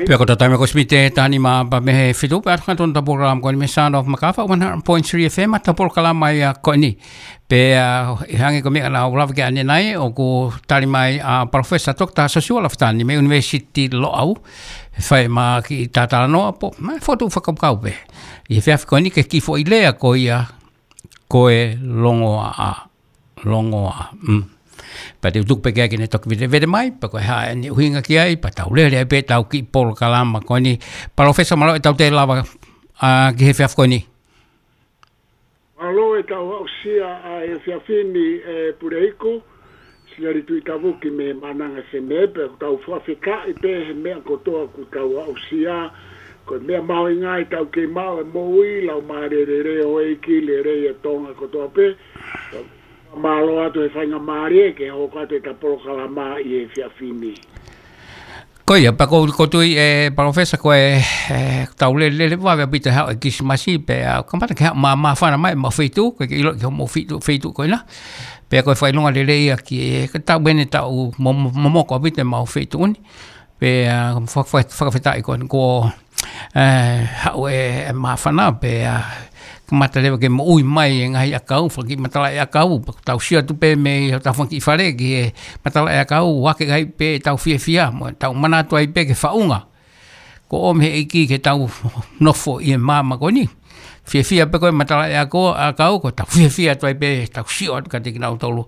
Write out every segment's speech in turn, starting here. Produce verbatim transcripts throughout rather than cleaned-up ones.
Pea ko e taimi ko e miniti ʻe taha nima pea mei he fitu, pea ʻoatu atu ʻetau polokalama ko eni mei he Sound of Makafa, one hundred point three F M, ʻetau polokalama ia ko eni. Pea, ʻa, ʻi he hangē ko e meʻa naʻa ku lave ki ai ʻanenai, ʻoku tali mai ʻa Professor Doctor Siosiua Lafitani mei he University Loʻau, fai mai ha kiʻi talanoa pē, mo e fokotuʻu fakakaukau pē. ʻI he efiafi ko eni ki he kiʻi foʻi lea ko ia, ko e longoaʻa. Longoaʻa. Mm. Pea te u tuku pē ki ai ke ne toki vetevete mai, pea ko e hā ʻene ʻuhinga ki ai, pea tau lele ai pē ʻetau kiʻi polokalama ko eni. Palōfesa, mālō ʻetau toe lava, ʻa, ki he efiafi ko eni. Mālō ʻetau aʻusia ʻa e efiafi ni, ʻe Puleiku, Siali Tuʻitavuki mei Maʻananga F M, pea ʻoku tau fakafetaʻi pē he meʻa kotoa ʻoku tau aʻusia, ko e meʻa mahuʻinga ʻetau kei maʻu e moʻui, laumālie lelei ʻo e ʻEiki, lelei ʻa Tonga kotoa pē. Mālō atu he faingamālie ke hoko atu ʻeta polokalama ʻi he efiafi ni. Ko ia, pea ʻoku ou, ʻoku ou tui, ʻe, Palōfesa, ko e, ʻe, tau lele, lele vave ʻaupito he haʻu e Kilisimasi, pea, ʻa, kamata ke haʻu mā, māfana mai ʻemau feituʻu, ko e ke ʻilo ki hoʻomou feituʻu, feituʻu ko ena. Pea ko e fakaʻilonga lelei ia ki he, ko e taʻu eni ʻoku mo, mo, momoko ʻaupito ʻemau feituʻu ni. Pea, ʻa, fa-, fa-, fakafetaʻi ko eni ko ʻe, haʻu e, e māfana pea, ʻa, kamata leva ke moʻui mai e ngaahi ʻakau, fanga kiʻi matalaʻiʻakau, pea ʻoku tau sio atu pē mei hotau fanga kiʻi fale ki he matalaʻiʻakau, ʻoku ʻi ai pē ʻetau fiefia, mo ʻetau manatu ai pē ki he faʻunga. Kuo ʻomi he ʻEiki ke tau nofo ʻi he māmani ko eni. Fiefia pē ko e matalaʻiʻakau, ʻakau, ʻoku tau fiefia atu ai pē, tau sio atu kiate kinautolu.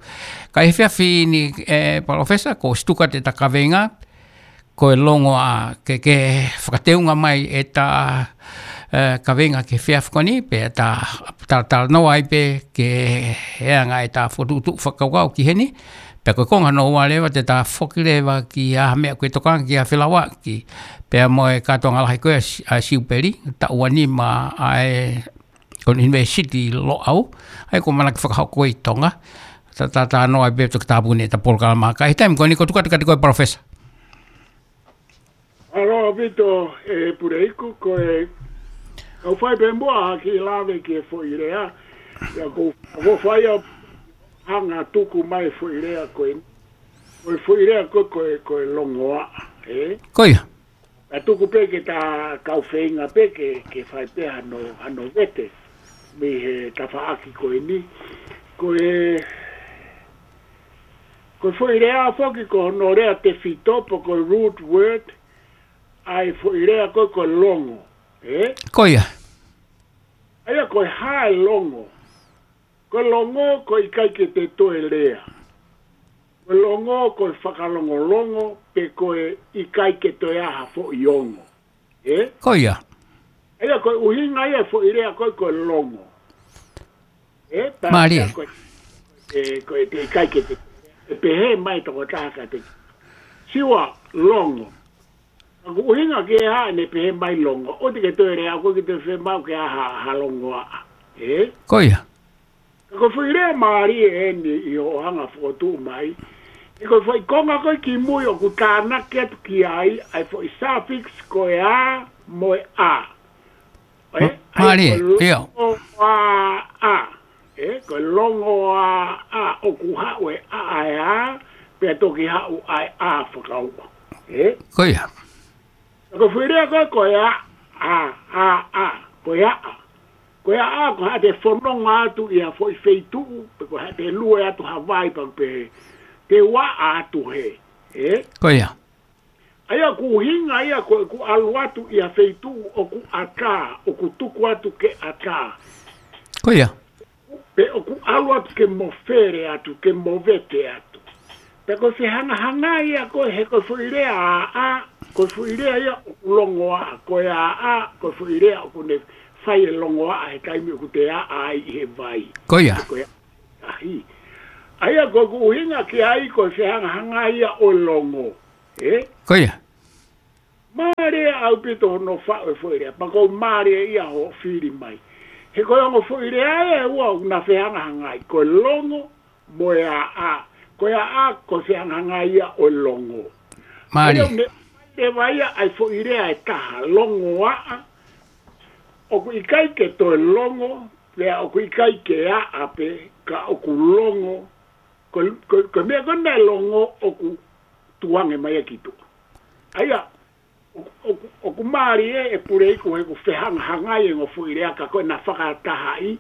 Ka ʻi he efiafi ni, ʻe, Palōfesa, kuo ʻosi tuku atu ʻeta kaveinga, ko e longoaʻa, ke, ke fakateunga mai ʻeta, ʻe, kaveinga ki he efiafi ko eni, pea ta, ta, talanoa ai pē ki he anga ʻeta fokotuʻutuʻu fakakaukau ki heni, pea ko e konga hono ua leva te ta foki leva ki ha meʻa ʻoku tokanga ki ai ʻa Felauaki, pea mo e kātoanga lahi ko ia ʻa Si-, ʻa Siupeli, taʻu ua nima ʻa e ko e University Loʻau, ʻa ia ʻoku ʻamanaki fakahoko ʻi Tonga, ta, ta, talanoa ai pē Toketā Puni ʻeta polokalama. Ka ʻi he taimi ko eni ʻoku ou tuku atu kiate koe Palōfesa. Mālō ʻaupito ʻe Puleiku, ko e, kau fai pē muʻa ha kiʻi lave ki he foʻi lea, ʻa ia ʻoku ou, ʻoku ou fai ʻa e hanga tuku mai foʻi lea ko e, ko e foʻi lea ko e, ko e, ko e longoaʻa, ē? Ko ia. Ka tuku pē ke ta kau feinga pē ke, ke fai pē hano, hano vete mei he tafaʻaki ko eni. Ko e, ko e foʻi lea foki ko hono lea tefito pe ko e root word, ʻa e foʻi lea ko e, ko e longo, ē? Ko ia. ʻA ia ko e hā e longo? Ko e longo ko e ʻikai ke te toe lea. Ko e longo ko e fakalongolongo, pe ko e ʻikai ke toe ʻi ai ha foʻi ongo. Ē? Ko ia. ʻA ia ko e ʻuhinga ia e foʻi lea ko e, ko e longo. Ē? Mālie. Pea ko e, ē, ko e te ʻikai ke te, ʻe pehē mai tokotaha kiate, Siua, longo. Ka ʻoku ʻuhinga ki he hā ʻene pehē mai longo? ʻOua te ke toe lea, ʻoku ʻikai ke toe fiemaʻu ke ʻi ai ha, ha longoaʻa. Ē? Ko ia. Ka ko e foʻi lea mālie eni ʻi hoʻo hanga fokotuʻu mai. ʻI he ko e foʻi konga ko ē kimui ʻoku tānaki atu ki ai, ʻa e foʻi suffix ko e a mo e ʻa. Ē? M-, ʻa ia mālie, ko e ʻio. Longoaʻa. Ē, ko e longoaʻa, ʻoku haʻu e ʻa ʻa e a, pea toki haʻu ʻa e a fakaua. Ē? Ko ia. Ko e foʻi lea ko e, ko e a, a, a, a, ko e aʻa. Ko e aʻa, ko haʻate fononga atu ʻi ha foʻi feituʻu, pe ko haʻate lue atu ha vai pea pehē, te u aʻa atu hē. Ē? Ko ia. ʻA ia ʻoku ʻuhinga ia ko ʻeku ʻalu atu ʻi ha feituʻu ʻoku ʻatā, ʻoku tuku atu ke ʻatā. Ko ia. Pe ʻoku ʻalu atu ke mofele atu, ke movete atu. Pea ko e fehangahangai ia ko e he ko e foʻi lea aʻa, ko e foʻi lea ia ʻoku longoaʻa, ko e aʻa, ko e foʻi lea ʻoku ne fai e longoaʻa he taimi ʻoku te aʻa ai ʻi he vai. Ko ia. Ko e aʻa. ʻA ia ko ʻeku ʻuhinga ki ai ko e fehangahangai ia ʻo e longo. Ē? Ko ia. Mālie ʻaupito hono faʻu e foʻi lea, pea ʻoku mālie ia hoʻo fili mai. He ko e ongo foʻi lea ʻe ua ʻoku na fehangahangai, ko e longo mo e aʻa. Ko e aʻa ko e fehangahangai ia ʻo e longo. Mālie. Pea ʻoku ne leva ia ʻa e foʻi lea ʻe taha, longoaʻa. ʻOku ʻikai ke toe longo, pea ʻoku ʻikai ke aʻa pē, ka ʻoku longo. Ko, ko, ko e meʻa ko ē naʻe longo ʻoku tukuange mai ia ki tuʻa. ʻA ia, ʻOku, ʻoku mālie ʻe Puleiku he ʻoku fehangahangai e ongo foʻi lea ka ko ʻena fakatahaʻi,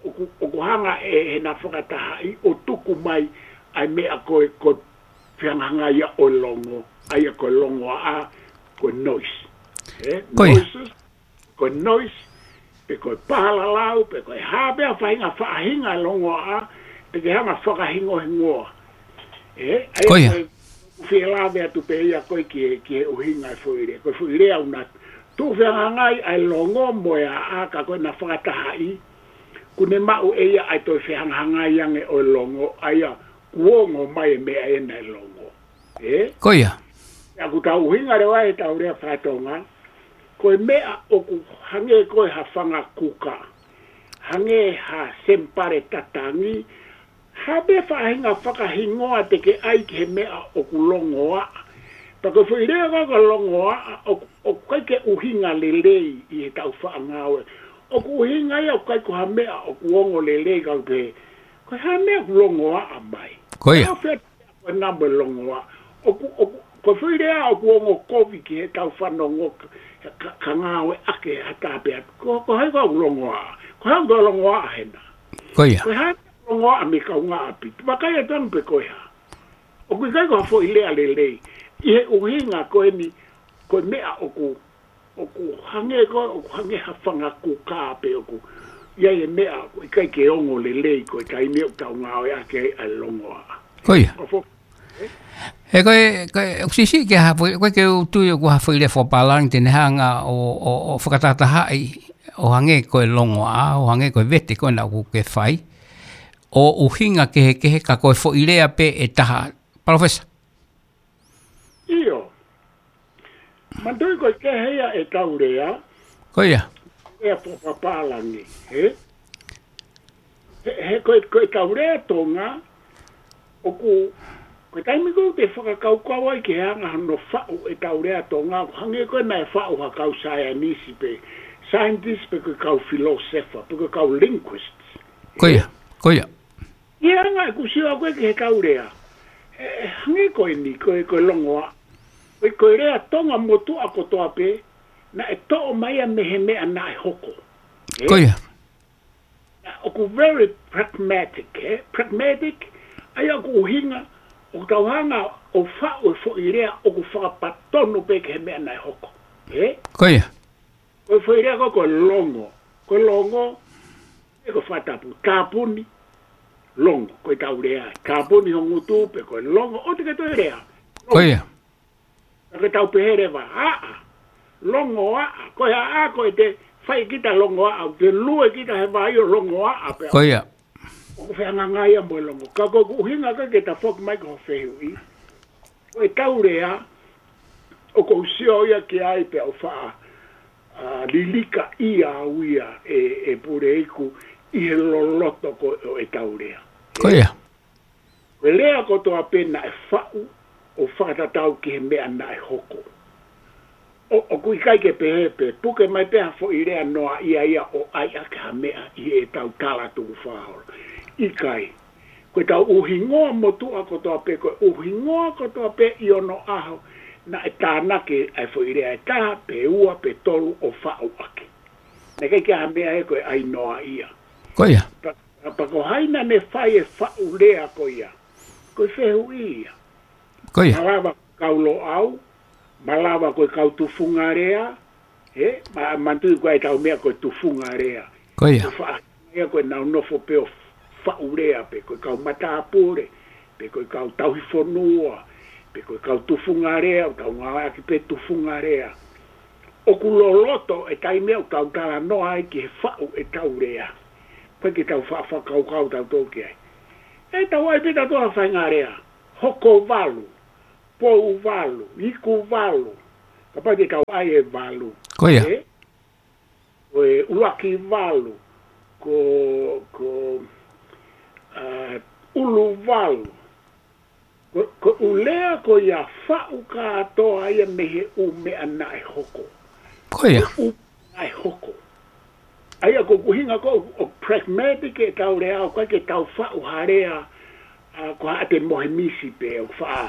ʻoku, ʻoku hanga ʻe heʻena fakatahaʻi ʻo tuku mai ʻa e meʻa ko e, ko e fehangahangai ia ʻo e longo, ʻa ia ko e longoaʻa, ko e noise. Ē? Ko ia. Noises, ko e noise, pe ko e palalau, pe ko e hā pē ha faʻahinga, faʻahinga e longoaʻa, te ke hanga fakahingohingoa. Ē? ʻA ia ko ia. Ko e fie lave atu pē ia ko e ki he, ki he ʻuhinga e foʻi lea. Ko e foʻi lea ʻoku na tuʻu fehangahangai ʻa e longo mo e aʻa ka ko ʻena fakatahaʻi, ʻoku ne maʻu ʻe ia ʻa e toe fehangahangai ange ʻo e longo, ʻa ia kuo ongo mai e meʻa ʻena e longo. Ē? Ko ia. ʻA ia ʻoku tau ʻuhinga leva ʻetau lea faka-Tonga, ko e meʻa ʻoku hangē ko e ha fanga kuka, hangē ha semipale tatangi, hā pē faʻahinga fakahingoa te ke ʻai ki he meʻa ʻoku longoaʻa. Pea ko e foʻi lea ko e longoaʻa, ʻoku, ʻoku ʻikai ke ʻuhinga lelei ʻi heʻetau faʻa ngāue. ʻOku ʻuhinga ia ʻoku ʻikai ko ha meʻa ʻoku ongo lelei ka ʻoku pehē, ko e hā e meʻa ʻoku longoaʻa mai. Ko ia. Ka ʻoku fie ko e namo e longoaʻa. ʻOku, ʻoku, ko e foʻi lea ʻoku ongo kovi ki heʻetau fanongo ka, ka, ka ngāueʻaki ha tāpea. Ko, ko hai ko ʻeku longoaʻa? Ko hai ʻoku longoaʻa hena? Ko ia. Ko e hā e longoaʻa mei he kaungāʻapi? Vakai atu ange pe ko e hā. ʻOku ʻikai ko ha foʻi lea lelei. ʻI he ʻuhinga ko eni, ko e meʻa ʻoku ʻoku hangē ko, ʻoku hangē ha fanga kuka pe ʻoku ʻi ai e meʻa ʻoku ʻikai ke ongo lelei ko e taimi ʻoku tau ngāueʻaki ai ʻa e longoaʻa. Ko ia. Ko fo-, He ko e, ko e, ʻoku siʻisiʻi ke ha foʻi, ko e ke u tui ʻoku ha foʻi lea fakapālangi te ne hanga ʻo, ʻo, ʻo fakatahatahaʻi ʻo hangē ko e longoaʻa, ʻo hangē ko e vete ko ena ʻoku ke fai, ʻo ʻuhinga kehekehe ka ko e foʻi lea pē ʻe taha. Palōfesa. ʻIo. Manatuʻi ko e kehe ia ʻetau lea. Ko ia. Lea fakapālangi, ē? He, he ko e, ko ʻetau lea Tonga, ʻoku, ko e taimi ko ē te fakakaukau ai ki he anga hono faʻu ʻetau lea Tonga, ʻoku hangē ko e naʻe faʻu ha kau saienisi pe, scientist pe ko e kau philosopher, pe ko e kau linguists. Ko ia, ko ia. ʻI he anga ʻeku sio ko ē ki heʻetau lea. He, he hangē ko eni, ko e, ko e longoaʻa. Ko e, ko e lea Tonga motuʻa kotoa pē, naʻe toʻo mai ia mei he meʻa naʻe hoko. Ē? Ko ia. ʻOku very pragmatic, ē? Pragmatic, ʻa ia ʻoku ʻuhinga, ʻoku tau hanga ʻo faʻu e foʻi lea ʻoku fakapatonu pē ki he meʻa naʻe hoko. Ē? Ko ia. Ko e foʻi lea ko, ko e longo. Ko e longo, ē ko e fakatapu. Tāpuni, longo. Ko ʻetau lea. Tāpuni ho ngutu pe ko e longo. ʻOua te ke toe lea. Ko ia. Ka ke tau pehē leva, aʻa. Longoaʻa. Ko e aʻa ko e te fai kita longoaʻa. Te lue kita he vai ʻo longoaʻa pē. Ko ia. ʻOku fehangahangai ia mo e longo. Ka ko ʻeku ʻuhinga ko e ke tafoki mai ki ho fehuʻi. Ko ʻetau lea, ʻoku ou sio ia ki ai pea u faʻa, ʻa, lilika ia au ia ʻe, ʻe Puleiku ʻi he loloto ko ē ʻo ʻetau lea. Ko ia. Ko e lea kotoa pē naʻe faʻu ʻo fakatatau ki he meʻa naʻe hoko. ʻO, ʻoku ʻikai ke pehē pē, puke mai pē ha foʻi lea noaʻia ia ʻo ʻai ʻaki ha meʻa ʻi heʻetau tala tukufakaholo. ʻIkai. Ko ʻetau ʻuhingoa motuʻa kotoa pē, ko e ʻuhingoa kotoa pē ʻi onoʻaho, naʻe tānaki ʻa e foʻi lea ʻe taha, pe ua, pe tolu ʻo faʻu ʻaki. Naʻe ʻikai ke ʻi ai ha meʻa ē ko e ʻai noaʻia. Ko ia. Pea, pea ko hai naʻa ne fai e faʻu lea ko ia. Ko e fehuʻi ia. Ko ia. Malava kau Loʻau, malava ko e kau tufunga lea, ē, ma, manatuʻi ko ʻetau meʻa ko e tufunga lea. Ko ia. Ko e faʻahinga ia ko ʻenau nofo pē ʻo faʻu lea pē, ko e kau matāpule, pe ko e kau tauhi fonua, pe ko e kau tufunga lea, ʻoku tau ngāueʻaki pē tufunga lea. ʻOku loloto e taimi ʻoku tau talanoa ai ki he faʻu ʻetau lea. Pea ke tau fa-, fakakaukau tautolu ki ai. ʻE tau ʻai pē tautolu ha faʻahinga lea. Hoko valu. Pou valu, iku valu. Kapau te tau ʻai e valu. Ko ia. Ē? Ko e ʻuluaki valu. Ko, ko, ʻa, ʻulu valu. Ko, ko e ʻū lea ko ia faʻu kātoa ia mei he ʻū meʻa naʻe hoko. Ko ia. Ko e ʻū naʻe hoko. ʻA ia ko e ʻuhinga ko ē ʻo pragmatic ʻetau lea, ʻoku ʻikai ke tau faʻu ha lea, ʻa, ko haʻate mohe misi pē, ʻo faʻa,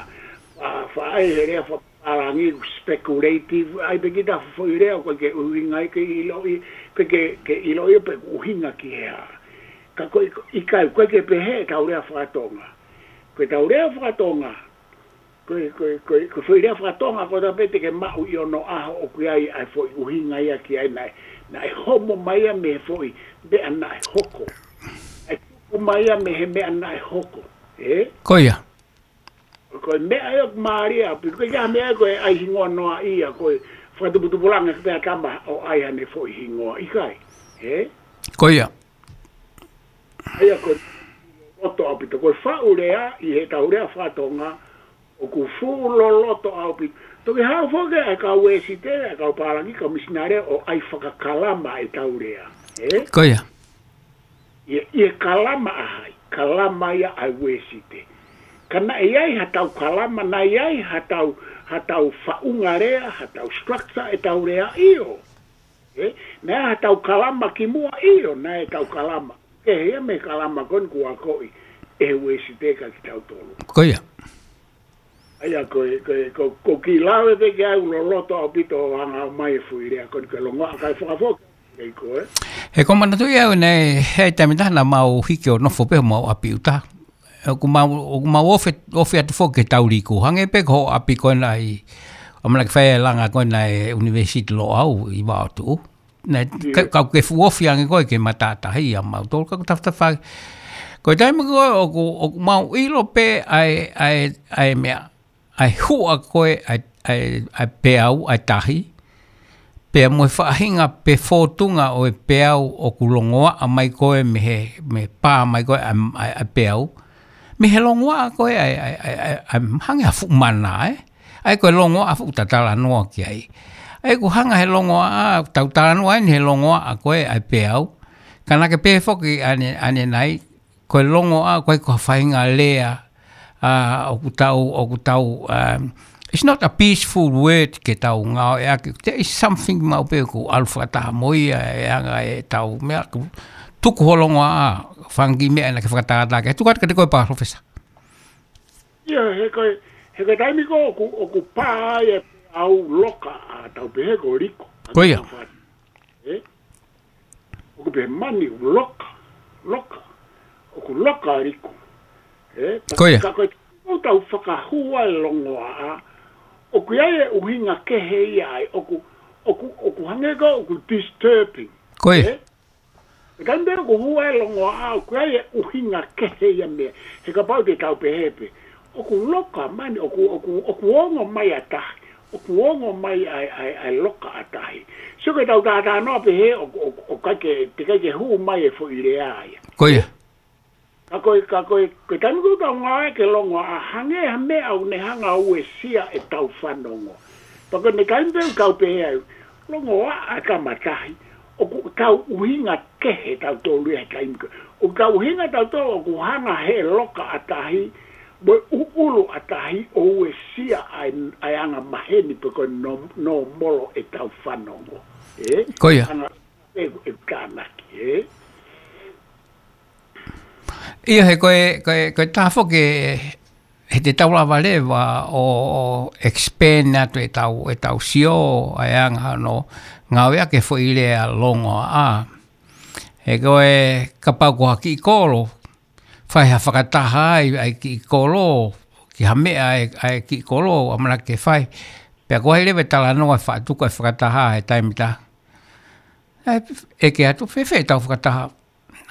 faʻa, faʻa ʻai he lea fa-, pālangi, speculative, ʻai pē kita foʻi lea, ʻoku ʻikai ke ʻuhinga ia ke ʻiloʻi, pe ke, ke ʻiloʻi pe ʻuhinga ki he hā. Ka ko e, ʻikai, ʻoku ʻikai ke pehē ʻetau lea fakatonga. Ko ʻetau lea fakatonga, ko e, ko e, ko e, ko e foʻi lea fakatonga, ko e taha pē te ke maʻu ʻi onoʻaho ʻoku ʻi ai ʻa e foʻi ʻuhinga ia ki ai naʻe, naʻe homo mai ia mei he foʻi meʻa naʻe hoko. ʻAi tuku mai ia mei he meʻa naʻe hoko. Ē? Ko ia. Ko e meʻa ia ʻoku mālie ʻaupito, ko e hā meʻa ko e ʻai hingoa noa ia, ko e fakatuputupulanga pē ʻa e tama ʻo ʻai haʻane foʻi hingoa, ʻikai. Ē? Ko ia. ʻA ia ko e loto ʻaupito, ko e faʻu lea, ʻi heʻetau lea fakatonga, ʻoku fuʻu loloto ʻaupito. Toki haʻu foki ʻa e kau Uēsite, ʻa e kau pālangi, kau misinale, ʻo ʻai fakakalama ʻetau lea. Ē? Ko ia. ʻI he, ʻi he kalama ʻa hai, kalama ia ʻa e Uēsite. Ka naʻe ʻi ai haʻatau kalama, naʻe ʻi ai haʻatau, haʻatau faʻunga lea, haʻatau structure ʻetau lea, ʻio. Ē, naʻe ʻi ai haʻatau kalama kimuʻa, ʻio, naʻe ʻi ai ʻetau kalama. Kehe ia mei he kalama ko eni kuo akoʻi ʻe he Uēsite kia kitautolu. Ko ia. ʻA ia ko e, ko e, ko, ko e kiʻi lave pē ke ʻai loloto ʻaupito ʻo hanga mai e foʻi lea ko eni ke longoaʻa kae fakafoki kei ko e. He ko e manatu ia au naʻe, he taimi ʻe taha naʻa mau hiki ʻo nofo pē homau ʻapi ʻuta. ʻOku mau, ʻoku mau ofi, ofi atu foki ke tau liku. Hangē pē ko hoʻo ʻapi ko ena ʻi, ʻamanaki fai e langa ko ena ʻi he ʻUnivēsiti Loʻau ʻi Vaotuʻu. Naʻe, ʻIo. ka, kau ke fuʻu ofi ange koe ke matātahi ʻa mautolu, ka ko e tafatafa. Ko e taimi ko ē ʻoku, ʻoku mau ʻilo pē ʻa e, ʻa e, ʻa e meʻa, ʻa e huʻa ko ē ʻa e, ʻa e, ʻa e peau, ʻa e tahi. Pea mo e faʻahinga pe fōtunga ʻo e peau ʻoku longoaʻa mai ko ē mei he, mei he pā mai ko ē ʻa e, ʻa e, ʻa e peau. Mei he longoaʻa ko ē ʻa e, ʻa e, ʻa e, ʻa e, ʻa e hangē ha fuʻu mana, ē? ʻA ia ko e longoaʻa fuʻu tatalanoa ki ai. ʻA ia ʻoku hanga he longoaʻa, tau talanoa eni he longoaʻa ko ē ʻa e peau. Ka naʻa ke pehē foki ʻane, ʻanenai, ko e longoaʻa, ko e ko ha faʻahinga lea, ʻa, ʻoku tau, ʻoku tau, um, it's not a peaceful word ke tau ngāueʻaki. There is something maʻu pē ʻoku ʻalu fakataha mo ia, ʻa e anga ʻetau meʻa, ʻoku tuku hoʻo longoaʻa, fanga kiʻi meʻa naʻa ke fakatātā ki ai. Tuku atu kiate koe Palōfesa. ʻIo, he ko e, he ko e taimi ko ē ʻoku, ʻoku pā ai e peau, loka, ʻa tau pehē ko e liku. Ko ia. Ē? ʻOku pehē mani ʻoku loka, loka. ʻOku loka liku. Ē? Ko ia. Ka ko e tau fakahū ai e longoaʻa, ʻoku ʻi ai e ʻuhinga kehe ia ai, ʻoku, ʻoku, ʻoku hangē ko ē ʻoku disturbing. Ko ia. Ē? He taimi pē ʻoku hū ai e longoaʻa, ʻoku ʻi ai e ʻuhinga kehe ia meʻa. He kapau te tau pehē pē, ʻoku loka mani, ʻoku, ʻoku, ʻoku ongo mai ʻa tahi, ʻoku ongo mai ʻa e, ʻa e, ʻa e loka ʻa tahi. Sio ko ʻetau talanoa pehē, ʻoku, ʻoku, ʻoku ʻikai ke, teʻeki ai ke hū mai e foʻi lea ia. Ko ia. Ka ko e, ka ko e, ko e taimi ko ē ʻoku tau ngāueʻaki e longoaʻa, hangē ha meʻa ʻoku ne hanga ʻo uesia ʻetau fanongo. Pea ko e taimi pē ʻoku tau pehē ai, longoaʻa ʻa e tama tahi, ʻoku tau ʻuhinga kehe tautolu ia he taimi ko ē. ʻOku tau ʻuhinga tautolu ʻoku hanga he loka ʻa tahi, mo e ʻuʻulu ʻa tahi ʻo uesia ʻa e, ʻa e anga maheni pe ko e nō-, nōmolo ʻetau fanongo. Ē? Ko ia. Hanga ʻe, ʻe tānaki, ē? ʻIo, he ko e, ko e, ko e taha foki, he te tau lava leva ʻo, ʻo expand atu ʻetau, ʻetau sio, ʻa e anga hono ngāueʻaki e foʻi lea longoaʻa. He ko e kapau ko ha kiʻi kolo, fai ha fakataha ai, ʻa e kiʻi kolo, ki ha meʻa ʻa e, ʻa e kiʻi kolo, ʻamanaki ke fai. Pea ko hai leva e talanoa ʻe faʻa tuku e fakataha he taimi ʻe taha. ʻE, ʻeke atu, fēfē ʻetau fakataha?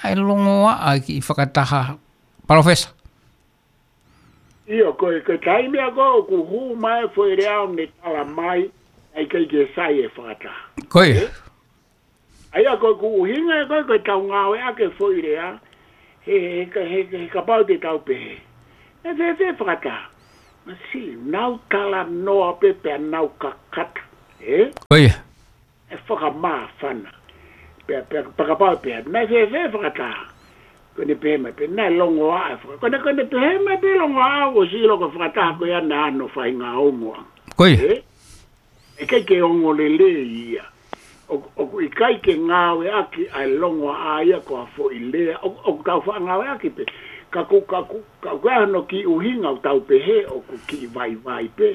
ʻA e longoaʻa e kiʻi fakataha, Palōfesa. ʻIo, ko e, ko e taimi ia ko ē ʻoku hū mai e foʻi lea ʻo ne tala mai, ʻa e ʻikai ke sai e fakataha. Ko ia. Ē? ʻA ia ko ʻeku ʻuhinga ia ko ē, ko ʻetau ngāueʻaki e foʻi lea, he, he, he, he, he kapau te tau pehē, ʻe fēfē e fakataha? Masiʻi, nau talanoa pē pea nau kakata. Ē? Ko ia. ʻE fakamāfana. Pea, pea, pea kapau pē, naʻe fēfē e fakataha? Ko ʻene pehē mai pē, naʻe longoaʻa e faka-, ko ʻene, ko ʻene pehē mai pē longoaʻa, ʻoku ʻosi ʻilo ko e fakataha ko ia naʻa ne faʻahinga ongoʻanga. Ko ia. Ē? ʻE ʻikai ke ongo lelei ia. ʻO, ʻoku ʻikai ke ngāueʻaki ʻa e longoaʻa ia ko ha foʻi lea. ʻO, ʻoku tau faʻa ngāueʻaki pē. Ka ʻoku, ka ʻoku, ka ʻoku ʻi ai hono kiʻi ʻuhinga ʻoku tau pehē ʻoku kiʻi vaivai pē.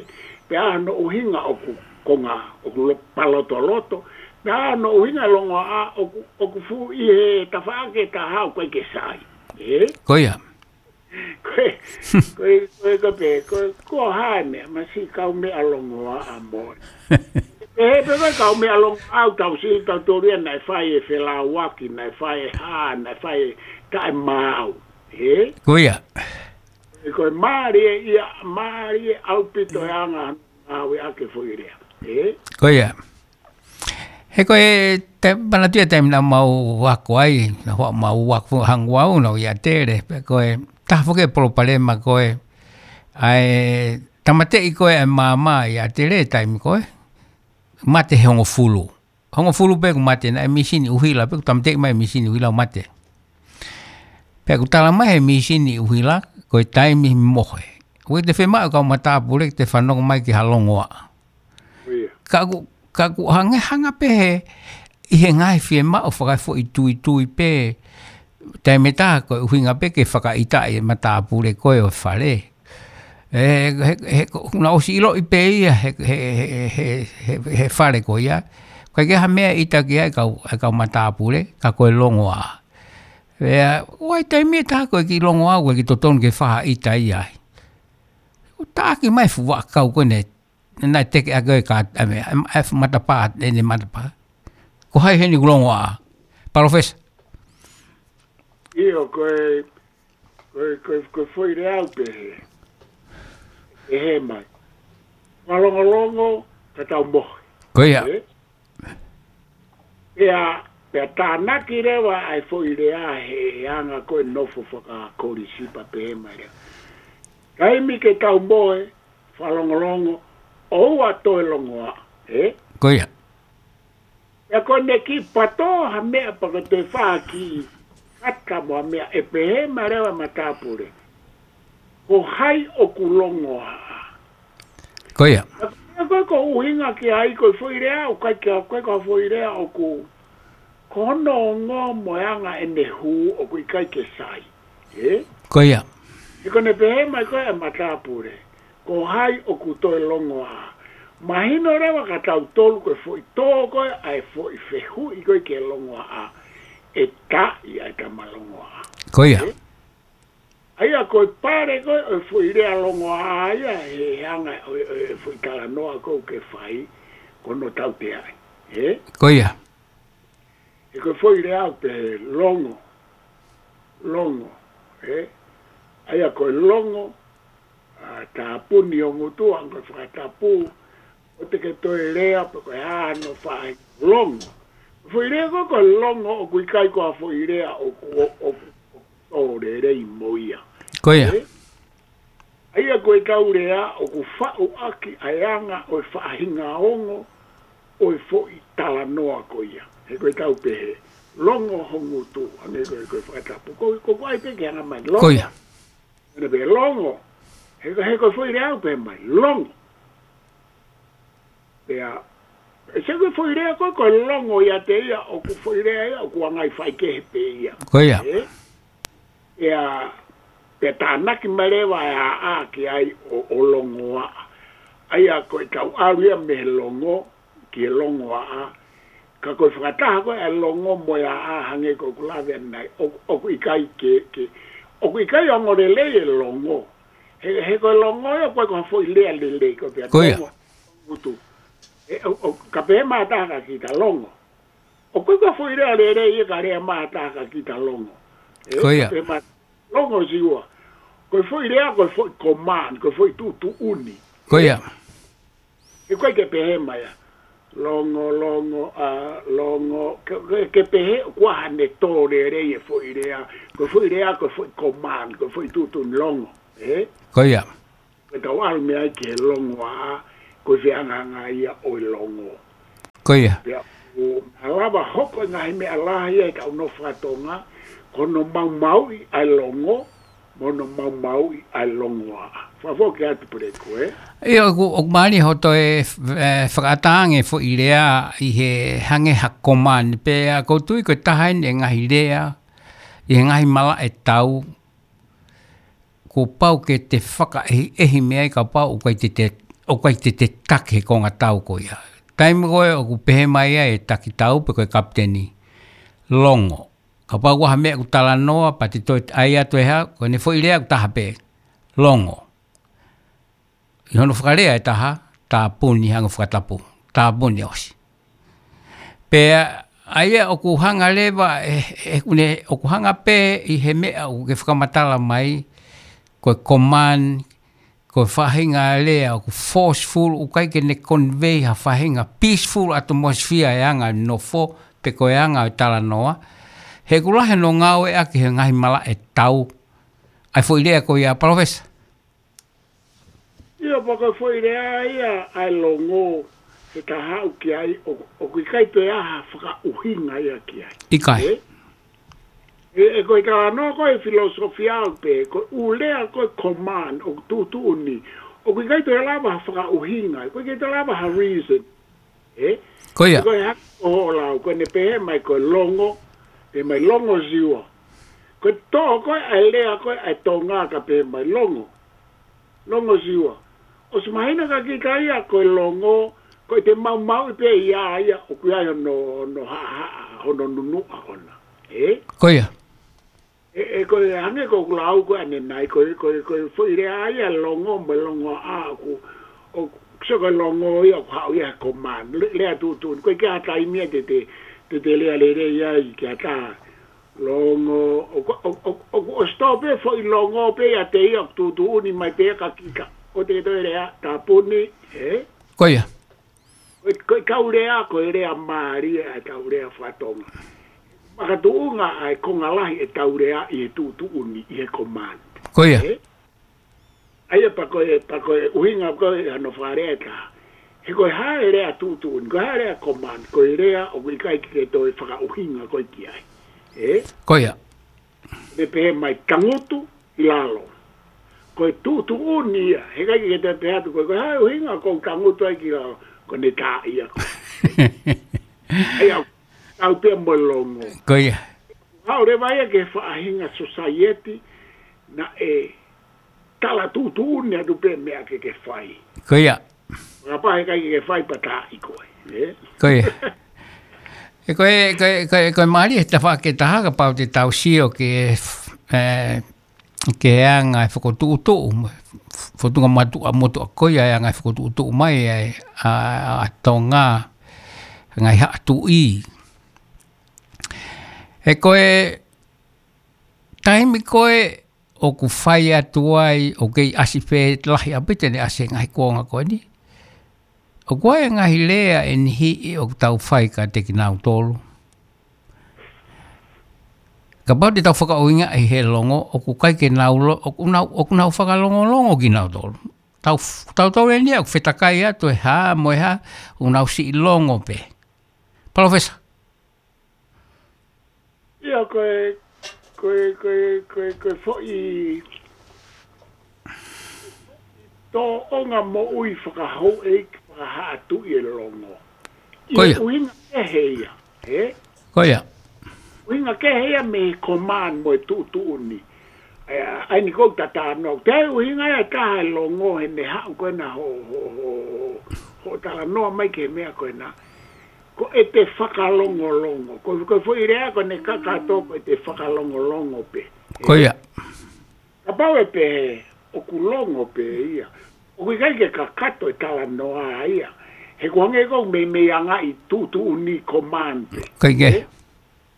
Pea ʻa hono ʻuhinga ʻoku konga, ʻoku lo-, palotoloto. Pea ʻa hono ʻuhinga longoaʻa ʻoku, ʻoku fuʻu ʻi he tafaʻaki ʻe taha ʻoku ʻikai ke sai. Ē? Ko ia. Ko e, ko e, ko e, ko e pē, ko e, ko hai meʻa, masi kau meʻa longoaʻa mo. Ē, pē ko e kau meʻa longoaʻa ʻoku tau sio tautolu ia naʻe fai e felāuaki, naʻe fai e hā, naʻe fai e taʻemaau. Ē? Ko ia. Ko e mālie ia, mālie ʻaupito e anga ʻa e ngāueʻaki e foʻi lea. Ē? Ko ia. He ko e te-, manatuʻi e taimi naʻa mau ako ai, naʻa mau ako hangē ko au naʻa ku ʻi ʻAtele, pea ko e taha foki e palopalema ko e, ʻa e tāmateʻi ko e ʻa e maama ʻi ʻAtele taimi ko e, mate he hongofulu. Hongofulu pē kuo mate naʻe mīsini ʻuhila, pea kuo tāmateʻi mai mīsini ʻuhila ʻo mate. Pea kuo tala mai he mīsini ʻuhila, ko e taimi mohe. ʻOku ʻikai te fiemaʻu e kau matāpule ke fanongo mai ki ha longoaʻa. Ko ia. Ka ʻoku, ka ʻoku hangē hanga pē he, ʻi he ngaahi fiemaʻu fakaefoʻituitui pē, taimi ʻe taha ko e ʻuhinga pē ke fakaʻitaʻi e matāpule ko ē ʻo e fale. Ē, he, he, ko, naʻa ku ʻosi ʻiloʻi pē ia, he, he fale ko ia. ʻOku ʻikai ke ha meʻa ʻita ki ai e kau, e kau matāpule, ka ko e longoaʻa. Pea, ʻoku ʻi ai e taimi ʻe taha ko e kiʻi longoaʻa, ʻoku ʻikai ke totonu ke fakaʻita ia ai. ʻO taʻaki mai e fuʻu vaʻakau ko ē naʻe, naʻe teke ʻaki e ka, ʻa e meʻa, ʻa e, ʻa e matapā, ʻene matapā. Ko hai heni kuo longoaʻa? Palōfesa. ʻIo, ko e, ko e, ko e, ko e foʻi lea ʻoku pehē. Pehē mai. Fakalongolongo, ka tau mohe. Ko ia. Ē? Pea, pea tānaki leva ʻa e foʻi lea he, he anga ko e nofo fakakolisi pea pehē mai leva. Taimi ke tau mohe, fakalongolongo, ʻoua toe longoaʻa, ē? Ko ia. Pea ko ʻene kiʻi pato ha meʻa pea ko e toe fā kiʻi kata mo ha meʻa ʻe pehē mai leva e matāpule. Ko hai ʻoku longoaʻa? Ko ia. Pea ko e, ko e ʻuhinga ki ai ko e foʻi lea, ʻoku ʻikai ke, ʻoku ʻikai ko ha foʻi lea ʻoku, ko hono ongo mo e anga ʻene hū ʻoku ʻikai ke sai. Ē? Ko ia. He ko ʻene pehē mai ko e matāpule. Ko hai ʻoku toe longoaʻa? Mahino leva kia tautolu ko e foʻi tō ko ē ʻa e foʻi fehuʻi ko ē ki he longoaʻa. ʻE taʻi ʻa e tama longoaʻa. Ko ia. Ē? ʻA ia ko e pale ko ē ʻo e foʻi lea longoaʻa ia he anga ʻo e, ʻo e foʻi talanoa ko ē ʻoku ke fai ko hono tauteaʻi. Ē? Ko ia. He ko e foʻi lea ʻoku pehē longo. Longo. Ē? ʻA ia ko e longo, ʻa, tāpuni ho ngutu, ʻa ko e fakatapu, ʻoua te ke toe lea, pe ko e hā hono faʻahinga longo. Foʻi lea ko ē ko e longo, ʻoku ʻikai ko ha foʻi lea ʻoku, ʻo, ʻoku, ʻoku tō lelei mo ia. Ko ia. Ē? ʻA ia ko e tau lea ʻoku faʻu ʻaki ʻa e anga ʻo e faʻahinga ongo ʻo e foʻi talanoa ko ia. He ko e tau pehē, longo ho ngutu, hangē ko e, ko e fakatapu. Ko, ko, ko ai pē ke hanga mai, longo. Ko ia. ʻEne pē longo. He ko, he ko e foʻi lea ʻoku pehē mai, longo. Pea, ʻe se ko e foʻi lea ko ē, ko e longo ia te ia, ʻoku foʻi lea ia, ʻoku ʻi ai e ngaahi faikehe pē ia. Ko ia. Ē? Pea, pea tānaki mai leva e ʻaʻā ki ai ʻo, ʻo longoaʻa. ʻA ia ko e tau ʻalu ia mei he longo, ki he longoaʻa. Ka ko e fakataha ko ē ʻa e longo mo e ʻaʻā hangē ko ʻeku lave ʻanenai, ʻo, ʻoku ʻikai ke, ke, ʻoku ʻikai ongo lelei e longo. He, he ko e longo ia, ʻoku ʻikai ko ha foʻi lea lelei ko pea Ko ia. Longo, ngutu. Ē, ʻo, ʻo, ka pehē mai ha taha kia kita longo. ʻOku ʻikai ko ha foʻi lea lelei ia ka lea mai ha taha kia kita longo. Ē, Ko ia. Ka pehē mai longo siua. Ko e foʻi lea, ko e foʻi command, ko e foʻi tuʻutuʻuni. Ko ia. He ʻoku ʻikai ke pehē mai ia. Longo, longo, ʻa, longo, ke, ke, ke pehē, ʻoku ʻi ai haʻane tō lelei e foʻi lea, ko e foʻi lea, ko e foʻi command, ko e foʻi tuʻutuʻuni longo, ē? Ko ia. Ke tau ʻalu mei ai ki he longoaʻa, ko e fehangahangai ia ʻo e longo. Ko ia. Pea, ʻo, ʻe lava hoko e ngaahi meʻa lahi ʻi he kau nofo faka-Tonga, ko hono maumauʻi ʻa e longo, mo hono maumauʻi ʻa e longoaʻa. Fakafoki atu Puleku, ē? ʻIo, ʻoku, ʻoku mālie hoʻo toe, ē, fakaʻatā ange foʻi lea ʻi he hangē ha command pea ʻoku ou tui ko e taha eni e ngaahi lea, ʻi he ngaahi malaʻe tau, kuo pau ke te fakaʻehiʻehi mei ai kapau ʻoku ʻikai te te ʻoku ʻikai te te taki he konga tau ko ia. Taimi ko ē ʻoku pehē mai ai e takitau pe ko e kapiteni, longo. Kapau ʻoku ʻi ai ha meʻa ʻoku talanoa, pea te toe ʻai atu e hā, ko ʻene foʻi lea ʻoku taha pē, longo. ʻI hono fakalea ʻe taha, tāpuni, hangē ko e fakatapu. Tāpuni, ʻosi. Pea ʻa ia ʻoku hanga leva, e, e, ʻoku ne, ʻoku hanga pē ʻi he meʻa ʻoku ke fakamatala mai, ko e command, ko e faʻahinga lea ʻoku forceful, ʻoku ʻikai ke ne convey ha faʻahinga peaceful atmosphere e anga e nofo, pe ko e anga e talanoa. He ʻoku lahi hono ngāueʻaki he ngaahi malaʻe tau ʻa e foʻi lea ko ia, Palōfesa. ʻIo, pea ko e foʻi lea ia ʻa e longo, he ka haʻu ki ai, ʻo, ʻoku ʻikai toe ʻi ai ha fakaʻuhinga ia ki ai. ʻIkai. Ē? ʻE, ʻe ko e talanoa ko e filosofia pē, ko e ʻū lea ko e command, ʻoku tuʻutuʻuni, ʻoku ʻikai toe lava ha fakaʻuhinga, ʻoku ʻikai toe lava ha reason. Ē? Ko ia. Ko e hā ko hoʻo lau, ko ʻene pehē mai ko e longo, pehē mai longo ziua. Ko e toʻo ko ē ʻa e lea ko ē ʻa e Tonga ka pehē mai longo. Longo ziua. ʻOsi mahino kia kita ia ko e longo, ko e te maumauʻi pē ia ia ʻoku ʻi ai hono, hono haʻahaʻa, hono nunuʻa ʻona. Ē? Ko ia. ʻE, ʻe ko e hangē ko ʻeku lau ko ē ʻanenai, ko e, ko e, ko e foʻi lea ia longo mo e longoaʻa ʻoku, ʻo, so ko e longo ia ʻoku haʻu ia he command, le-, lea tuʻutuʻuni, ʻoku ʻikai ha taimi ia te te, te te lea lelei ai ki ha taha. Longo, ʻoku, ʻo, ʻo, ʻoku ʻosi tō pē foʻi longo pē ia te ia ʻoku tuʻutuʻuni mai pē kia kita. ʻO te ke toe lea, tāpuni, ē? Ko ia. Ko e, ko e kau lea, ko e lea mālie ʻa e kau lea faka-Tonga. Makatuʻunga ʻa e konga lahi e kau lea ʻi he tuʻutuʻuni, ʻi he command. Ko ia. Ē? ʻA ia pea ko e, pea ko e ʻuhinga ko ē hano fakalea ʻe taha. He ko e hā e lea tuʻutuʻuni, ko e hā e lea command, ko e lea ʻoku ʻikai ke toe fakaʻuhinga ko ē ki ai. Ē? Ko ia. Ne pehē mai tangutu ʻi lalo. Ko e tuʻutuʻuni ia, he ʻikai ke te pehē atu ko e, ko e hā e ʻuhinga ʻoku ou tangutu ai ki lalo, ko ʻene taaʻi ia ko ē. ʻA ia, tau pē mo e longo. Ko ia. Haʻu leva ia ki he faʻahinga society, naʻe tala tuʻutuʻuni atu pē meʻa ke ke fai. Ko ia. Kapau he ʻikai ke fai pea taaʻi koe, ē? Ko ia. ʻE ko e, ko e, ko e, ko e mālie he tafaʻaki ʻe taha kapau te tau sio ki he, ē, ki he anga e fokotuʻutuʻu, fotunga motuʻa, motuʻa ko ia e anga e fokotuʻutuʻu mai ʻa e, ʻa, ʻa Tonga, ngaahi haʻa tuʻi. ʻE ko e, taimi ko ē ʻoku fai atu ai, ʻoku kei ʻasi pē lahi ʻaupito ʻene ʻasi he ngaahi kuonga ko eni. ʻOku ʻi ai e ngaahi lea ʻe niʻihi ʻoku tau fai kiate kinautolu. Kapau te tau fakaʻuhingaʻi he longo, ʻoku ʻikai ke nau lo-, ʻoku nau, ʻoku nau fakalongolongo kinautolu. Tau, tau tau eni ʻoku fetakai atu e hā mo e hā, ʻoku nau siʻi longo pē. Palōfesa. ʻIo, ko e, ko e, ko e, ko e, ko e foʻi tōʻonga moʻui fakahouʻeiki, fakahaʻa tuʻi e longo. ʻI Ko he ia. ʻuhinga kehe ia, ē? Ko ia. ʻUhinga kehe ia mei he command mo e tuʻutuʻuni. ʻA ia, ʻa eni ʻoku ou tatano. Ko e ʻuhinga ia ʻe taha e longo he meʻa haʻu ko ena ho, ho, ho, ho, ho talanoa mai ki he meʻa ko ena. Ko ʻete fakalongolongo. Ko, ko e foʻi lea ko eni kakato ko ʻete fakalongolongo pē. Ko ia. Kapau ʻe pehē, ʻoku longo pē ia. ʻOku ʻikai ke kakato e talanoa ia. He ʻoku hangē ʻoku meimei anga e tuʻutuʻuni command pē. Ko ia. Ē?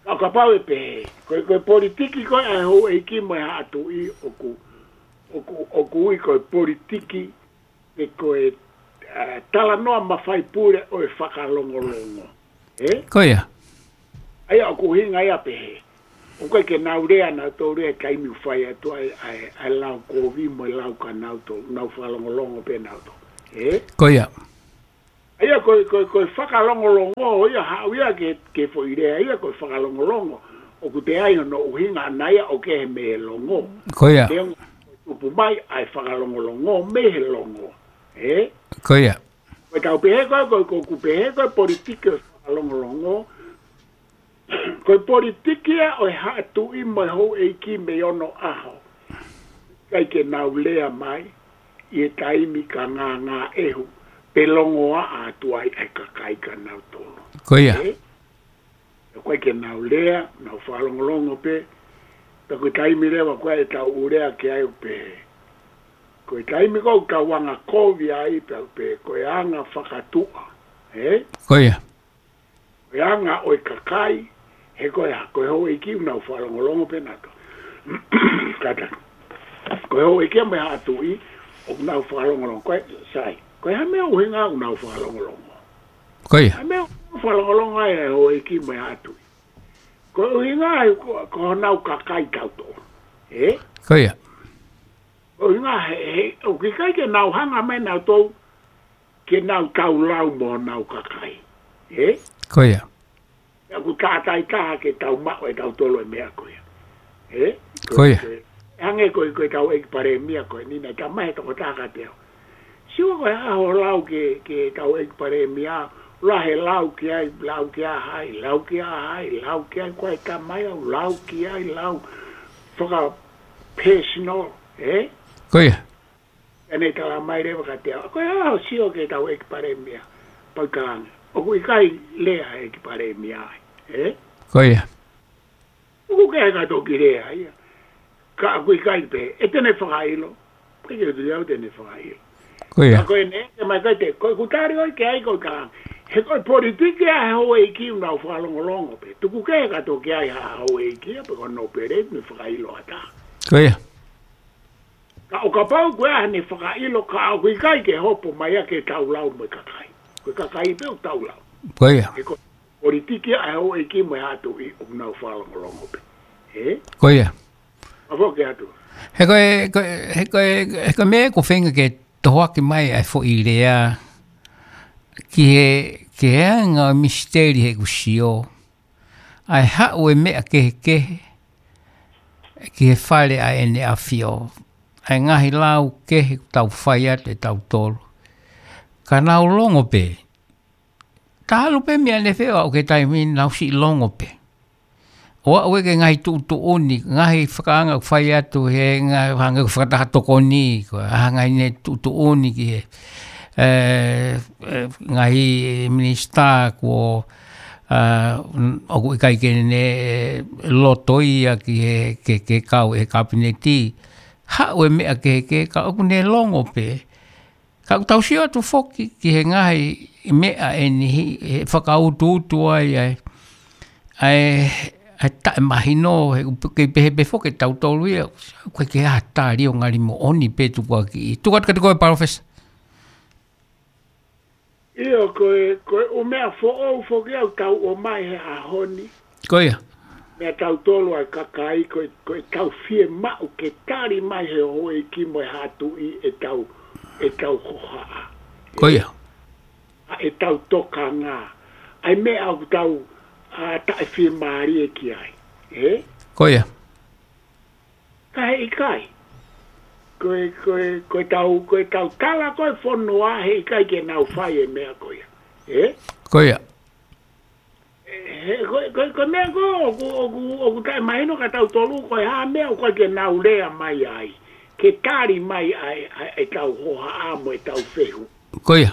Ka kapau ʻe pehē, ko e, ko e politiki ko ē ʻa e houʻeiki mo e haʻa tuʻi ʻoku, ʻoku, ʻoku ui ko e politiki pe ko e, ā, talanoa mafai pule ʻo e fakalongolongo. Ē? Ko ia. ʻA ia ʻoku ʻuhinga ia pehē. ʻOku ʻikai ke nau lea nautolu he taimi ʻoku fai atu ai, ʻa e, ʻa e lau kovi mo e lau kia nautolu, nau fakalongolongo pē nautolu. Ē? Ko ia. ʻA ia ko e, ko e, ko e fakalongolongo, ia haʻu ia ke, ke foʻi lea, ia ko e fakalongolongo. ʻOku toe ʻi ai hono ʻuhinga ʻana ia ʻoku kehe mei he longo. Ko ia. Ke ongo tupu mai ʻa e fakalongolongo mei he longo. Ē? Ko ia. Ko e tau pehē ko e, ko e, ko ʻeku pehē ko e politiki ʻo e fakalongolongo. Ko e politiki ia ʻo e haʻa tuʻi mo e houʻeiki mei onoʻaho. ʻIkai ke nau lea mai. ʻi he taimi ka ngāngāʻehu pe longoaʻa atu ai ʻa e kakai ka nau tolo. Ko ia. Ē? ʻOku ʻikai ke nau lea, nau fakalongolongo pē. Pea ko e taimi leva ko ē ʻetau lea ki ai ʻoku pehē, ko e taimi ko ē ʻoku tau anga kovi ai, pea ʻoku pehē ko e anga fakatuʻa. Ē? Ko ia. Ko e anga ʻo e kakai, he ko e hā, ko e houʻeiki ʻoku nau fakalongolongo pē nautolu. Kātaki. Ko e houʻeiki mo e haʻa tuʻi ʻoku nau fakalongolongo. Ko e, sai. Ko e hā e meʻa ʻuhinga ʻoku nau fakalongolongo? Ko ia. Hā e meʻa ʻoku fakalongolongo ai e houʻeiki mo e haʻa tuʻi? Ko e ʻuhinga ai ko, ko honau kakai tautolu. Ē? Ko ia. Ko e ʻuhinga he, he, ʻoku ʻikai ke nau hanga mai nautolu ke nau taulau mo honau kakai. Ē? Ko ia. ʻOku tātāitaha ke tau maʻu ʻe tautolu e meʻa ko ia. Ē? Ko ia. Ko e, hangē ko e, ko ʻetau ʻEiki Palēmia ko eni naʻe talamai he tokotaha kiate au, Siua, ko e hā hoʻo lau ki he, ki heʻetau ʻEiki Palēmia, lahi e lau ki ai, lau kia hai, lau kia hai, lau ki ai, ko e talamai au, lau ki ai, lau faka-personal, ē? Ko ia. Pea ne talamai leva kiate au, ko e hā hoʻo sio ki heʻetau ʻEiki Palēmia, Paikanga? ʻOku ʻikai lea ʻEiki Palēmia ai, ē? Ko ia. ʻOku ʻikai ke toki lea ia. Ka ʻoku ʻikai pē, ʻe te ne fakaʻilo. ʻIkai ke u tui au te ne fakaʻilo. Ko ia. Ka ko eni, ʻe mai kai te, ko ʻeku tali ʻoku ʻikai ko e ka. He ko e politiki ʻa e houʻeiki ʻoku nau fakalongolongo pē. Tuku kehe ka toki ʻi ai ha houʻeiki ia pe ko e nōpele ne fakaʻilo ʻa e taha. Ko ia. Ka ʻo kapau ko e hā ne fakaʻilo ka ʻoku ʻikai ke hopo mai ia ke taulau mo e kakai. Ko e kakai pē ʻoku taulau. Ko ia. He ko e politiki ʻa e houʻeiki mo e haʻa tuʻi ʻoku nau fakalongolongo pē. Ē? Ko ia. Mafo ke atu. He ko e, ko e, he ko e, he ko e meʻa ʻoku ou feinga ke tohoaki mai ʻa e foʻi lea ki he, ki he anga misiteli heʻeku sio. ʻA e haʻu e meʻa kehekehe ki he Fale ʻa ʻEne ʻAfio. ʻA e ngaahi lau kehe ʻoku tau fai atu ʻe tautolu. Ka nau longo pē. Talu pē meʻa ne feo au ki he taimi ni, nau siʻi longo pē. ʻO aʻu ki he ngaahi tuʻutuʻuni, ngaahi fakaanga ʻoku fai atu he ngaahi, hangē ko e fakataha tokoni, ko e ngaahi ne tuʻutuʻuni ki he, ē, ē, ngaahi minisitā kuo, ā, ʻoku ʻikai ke ne loto ia ki he, ke, ke kau he kapineti. Haʻu e meʻa kehekehe ka ʻoku ne longo pē. Ka ʻoku tau sio atu foki ki he ngaahi meʻa ʻe niʻihi, ʻe fakautuutu ai, ʻa e, ʻa e, ʻa e taʻemahino, he ʻoku kei pehē pē foki ʻe tautolu ia, ʻoku ʻikai ke ʻi ai ha tali ʻo ngali moʻoni pē tukuakiʻi. Tuku atu kiate koe, Palōfesa. ʻIo, ko e, ko e ʻū meʻa foʻou foki ʻoku tau ʻomai he ʻaho ni. Ko ia. Meʻa tautolu ʻa e kakai, ko e, ko ʻetau fiemaʻu ke tali mai he houʻeiki mo e haʻa tuʻi ʻetau, ʻetau hohaʻa. Ko ia. ʻA ʻetau tokanga. ʻA e meʻa ʻoku tau, ā, taʻefiemālie ki ai. Ē? Ko ia. Ka heʻikai. Ko e, ko e, ko ʻetau, ko ʻetau tala ko e fonua heʻikai ke nau fai e meʻa ko ia. Ē? Ko ia. He, ko, ko, ko e meʻa ko ē ʻoku, ʻoku, ʻoku taʻemahino kia tautolu ko e hā e meʻa ʻoku ʻikai ke nau lea mai ai. Ke tali mai ai, ai, ʻetau hohaʻa mo ʻetau fehuʻi. Ko ia.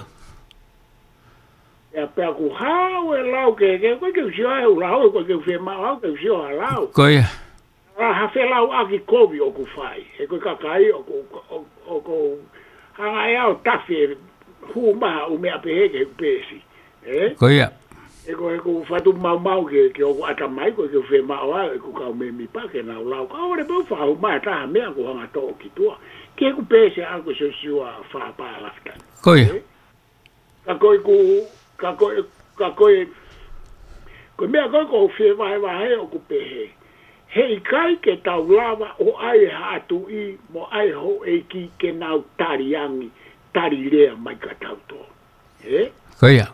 ʻIa pea ʻoku haʻu e lau kehekehe, ʻoku ʻikai ke u sio ai ʻoku lau, ʻoku ʻikai ke u fiemaʻu au ke u sio ha lau. Ko ia. ʻA ha felauʻaki kovi ʻoku fai. He ko e kakai ʻoku, ʻoku, ʻoku hanga ʻe au ʻo tafe hū mai ha ʻū meʻa pehē ki heʻeku peesi. Ē? Ko ia. He ko, he ko e fatu maumau ke, ke ʻoku ʻata mai, ʻoku ʻikai ke u fiemaʻu au ʻeku kau mēmipa ke nau lau. Ka ʻoua leva pē ʻo fakahū mai ha taha meʻa ʻoku hanga ʻo toʻo ki tuʻa. Ki heʻeku peesi ʻa ko Siosiua fā pā lafi tani. Ko ia. Ē? Ka ko ʻeku, ka ko e, ka ko e, ko e meʻa ko ē ʻoku ou fie vahevahe ʻoku pehē. Heʻikai ke tau lava ʻo ʻai e haʻa tuʻi mo ʻai e houʻeiki ke nau tali angi, tali lea mai kia tautolu. Ē? Ko ia.